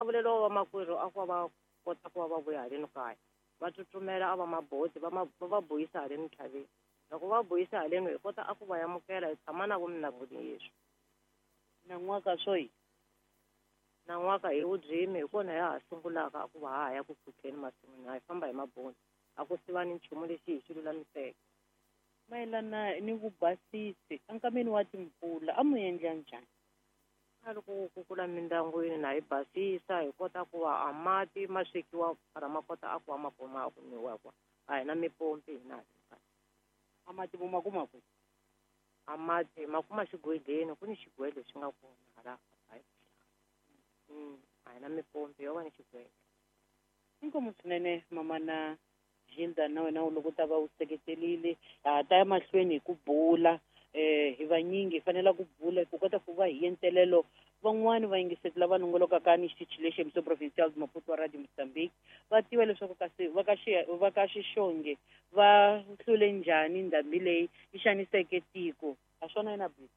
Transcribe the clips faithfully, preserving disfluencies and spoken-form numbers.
Vulelo wa makwerhu a ku va kota ku va va vuya haleni kaya va tsutsumela a va maboti va va va buyisa haleni ntlhaveni. Loko va buyisa haleni hi kota a ku va amukela hi tshama na vo minangwini yeswi. Nan'waka swo nan'waka hi vubyimi hi kona ya ha sungulaka a ku va ha ya ku pfukheni masin'wini hi famba hi maboti a ku siva ni nchumu lexi hi xi lulamiseke. Mayelana ni vubasisi enkameni wa timpfula a mu endla njhani? A loko ku kukula mindyangwini na hi basisa hi kota ku va a mati ma swekiwa para ma kota a ku va ma kuma a ku nwiwa kwa a hi na mipompi hina. A mati vo ma kuma kwihi? A mati ma kuma xigwedleni ku ni xigwedlo xi nga kona hala a hi na mipompi yo va ni xigwedlo. Inkomu swinene mamana Gilda na wena loko ta va u seketelile ha ta ya mahlweni hi ku bula eh hi vanyingi hi fanele ku bula ku kota ku va hi yentelelo van'wani va yingiseti lava nongolokaka ni xitichi lexi Emissão Provincial de Maputo wa Radio Mozambique va tiva leswaku kasi va ka xi va ka Xixonge va hlule njhani ndhambi leyi yi xaniseke tiko a swona yena bi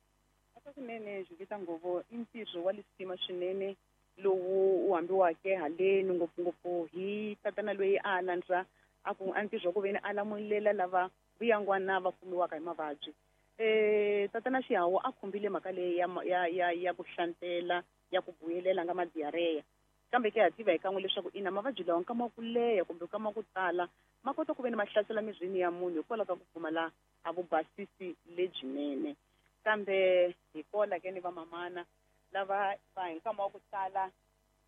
aka kunene Juvita Ngovo i ntirho wa lisima swinene lowu u hambiwake haleni ngopfungopfu hi tatana loyi a landza a ku a ntirho ku veni a lamulela lava vuyangwana va kumiwaka hi mavabyi. Eh tatana Xihawu a khumbile mhaka leyi ya ya ya ya ku hlantela ya ku vuyelela nga madiareya kambe ke ha tiva hi kan'we leswaku ina mavabyi lawa nkama wa ku leha kumbe nkama wa ku tala ma kota ku veni ma hlasela mirini ya munhu hikwalaho ka ku pfumala a vubasisi lebyinene. Kambe hi kola ke ni vamamana lava va hi nkama wa ku tala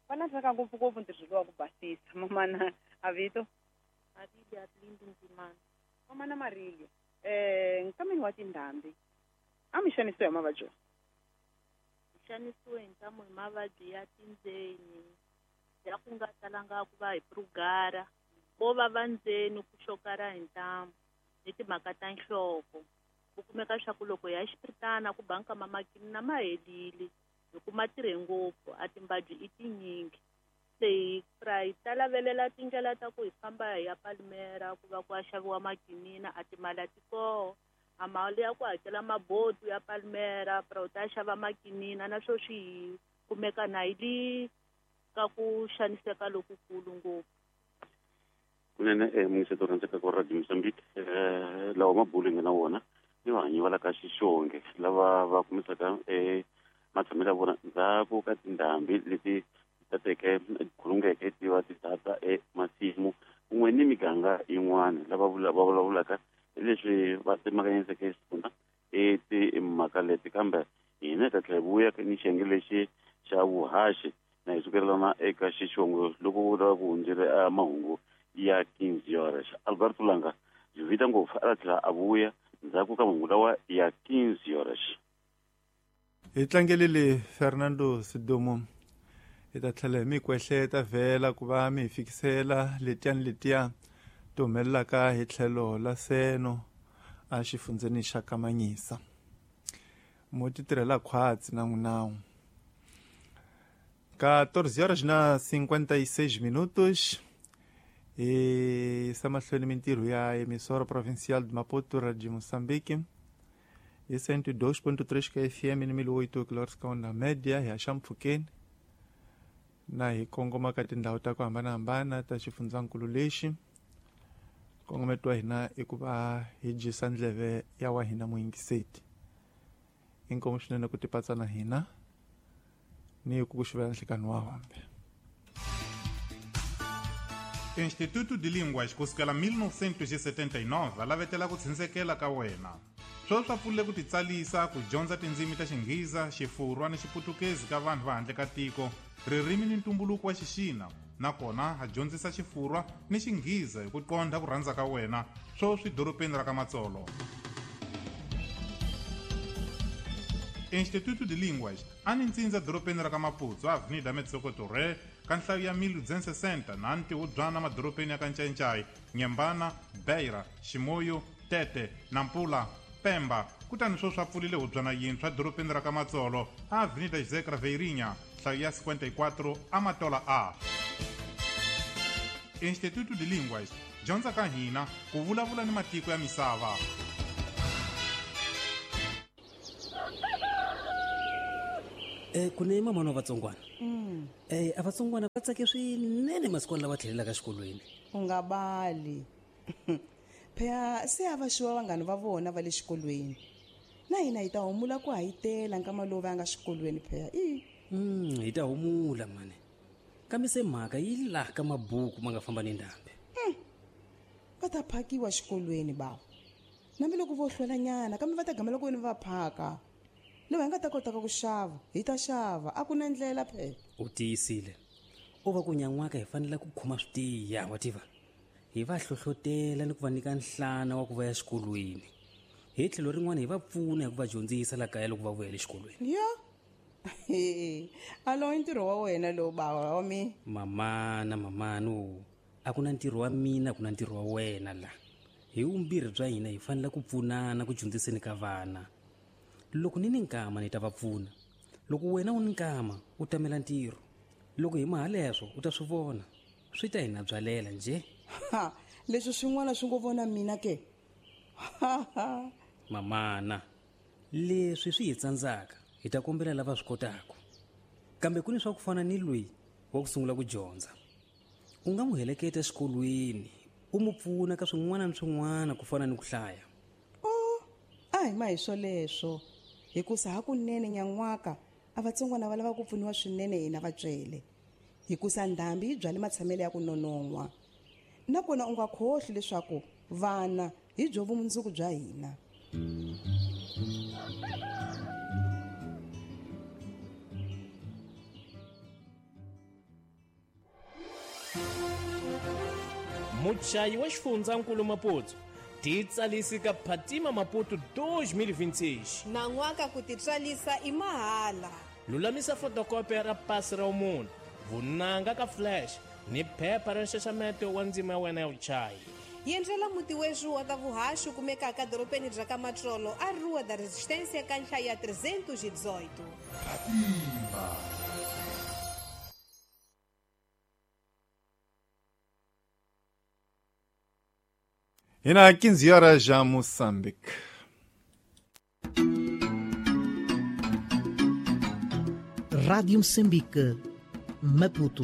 va landzaka ngopfungopfu ntirho lowu wa ku basisa. Mamana a vito Marilia Lindi Nzimana. Mamana Marilia, eh nkameni wa tindhambi a mi xanisiwe hi mavabyi? Hi xanisiwe hi ntamu hi mavabyi ya tindzeni ya ku nga talanga ku va hi prugara ko va va ndzeni ku xokara hi ntamu ni timhaka ta nhloko ku kumeka swa ku loko ya xipiritana ku banka mamakini na ma helile hi kuma tirhe ngopfu a timbabyi i tinyingi. Se hi pra hi ta lavelela tindlela ta ku hi famba hi ya Palmera ku va ku ya xaviwa makinina a timali a ti koho a mali ya ku hakela mabotu ya Palmera pra u ta xava makinina na swo swi hi kumeka na hi li ka ku xaniseka lokukulu ngopfu. Kunene eh mungiseto rhandzeka ku Radio Mozambique eh lawa mabulu nga na wona ni vahanyi va la ka Xixonge lava va kumisaka eh matshamelo ya vona ndzhaku ka tindhambi leti tateke khulungeke ti va ti tata emasimu kun'we ni miganga yin'wana lava va vulavulaka leswi va tsemakanyiseke xona i timhaka leti kambe hina hi ta tlhela hi vuya ni xiyenge lexi xa vuhaxi na hi sukelana eka Xixongo loko ku ta va ku hundzile mahungu ya quinze horas. Alberto Langa Juvita Ngopfu a ta tlhela a vuya ndzhaku ka mahungu lawa ya quinze horas. Hi tlangelile Fernando Sidomo hi ta tlhela hi mi kwehleta vhela ku va mi hi fikisela letiyani letiya ti humelelaka hi tlhelo la Seno a xifundzeni xa Kamanyisa. Mo ti tirhela khwatsi na n'winawu. quatorze horas na cinquenta e seis minutos e sa mahlweni mintirho ya Emissora Provincial de Maputo Radio Moçambique hi cento e dois ponto três ka F M ni mil oito kilohertz ka onda média hi haxa mpfhukeni na hi kongoma ka tindhawu ta ku hambanahambana ta xifundzankulu lexi. Nkongometo wa hina i ku va hi dyisa ndleve ya wa hina muyingiseti. Inkomu swinene ku tipatsa na hina ni ku ku xivela nhlikani wa hombe. Instituto de Línguas kusukela mil novecentos e setenta e nove lavetela ku tshunxekela ka wena. Sweswi swa pfulile ku titsalisa ku dyondza tindzimi ta Xinghiza, Xifurwa ni Xiputukezi ka vanhu va handle ka tiko, ririmi ni ntumbuluko wa Xixina, nakona ha dyondzisa Xifurwa ni Xinghiza hi ku qondha ku rhandza ka wena, sweswi dorobeni ra ka Matsolo. Instituto de Línguas a ni ntsindza dorobeni ra ka Maputo, Avenida Metsoko Torre, ka nhlayo ya mil duzentos e sessenta na ntihubyana madorobeni ya ka Ncancai, Nyembana, Beira, Ximoyo, Tete, Nampula, Pemba. Kutani sweswi a pfulile hubyana yintshwa dorobeni ra ka Matsolo, Avenida José Craveirinha, nhlayo ya cinquenta e quatro, Amatola A. Instituto de Línguas, dyondza ka hina ku vulavula ni matiko ya misava. Eh, kune mama wa vatsongwana Mm. Eh a vatsongwana va tsake swinene masikwana lava tlhelelaka xikolweni. U nga bali. Phela se a va xiwa vanghana va vona va le xikolweni. Na hina hi ta humula ku hayitela nkama lowu va nga xikolweni phela. I. Mm, hi ta humula mani. Kambe se mhaka yi laha ka mabuku ma nga famba ni ndhambi. Mm. Va ta phakiwa xikolweni bava. Nambi loko vo hlwelanyana kambe va ta gamela ku wena va phaka. Loko hi nga ta kota ku xava, hi ta xava, a ku na ndlela phela. U tiyisile. U va ku nyan'waka hi fanele ku khoma switiya, wa tiva. Hi va hlohlotela ni ku va nyika nhlana wa ku va ya xikolweni. Hi tlhelo rin'wana hi va pfuna hi ku va dyondzisa la kaya loko va vuyela exikolweni. Ya. Alo i ntirho wa wena lowu bava wa mi. Mamana, mamano, a ku na ntirho wa mina, a ku na ntirho wa wena la. Hi vumbirhi bya hina hi fanele ku pfunana ku dyondziseni ka vana. Loko ni ni nkama ni ta va pfuna. Loko wena u ni nkama u tamela ntirho. Loko hi mahaleswo u ta swi vona. Swi ta hina byalela nje. Ha, leswi swin'wana swi ngo vona mina ke. Mamana, leswi swi hi tsandzaka hi ta kombela lava swi kotaka. Kambe ku ni swa ku fana ni loyi wa ku sungula ku dyondza. U nga n'wi heleketa exikolweni, u n'wi pfuna ka swin'wana ni swin'wana ku fana ni ku hlaya. Oh, a hi ma hi swoleswo. Hikusa hakunene nyan'waka a vatsongwana va lava ku pfuniwa swinene hina vatswele. Hikusa ndhambi yi byale matshamelo ya ku nonon'hwa. Nakona u nga khohli leswaku vana hi byo vumundzuku bya hina. Muchayi wa xifundzankulu Maputo titsalisi ka Phatima Maputo dois mil e vinte e seis. Nan'waka ku titswalisa i mahala. Lulamisa fotokopi ra pasi ra munhu, vunanga ka flash ni phepha ra nxaxameto wa ndzima ya wena ya vuchayi. Yendlela muti wexu wa ta vuhaxi kumekaka dorobeni bya ka Matsolo a Rua da Resistência ka nhlaya trezentos e dezoito. Phatima. E na quinze horas já Moçambique. Rádio Moçambique, Maputo.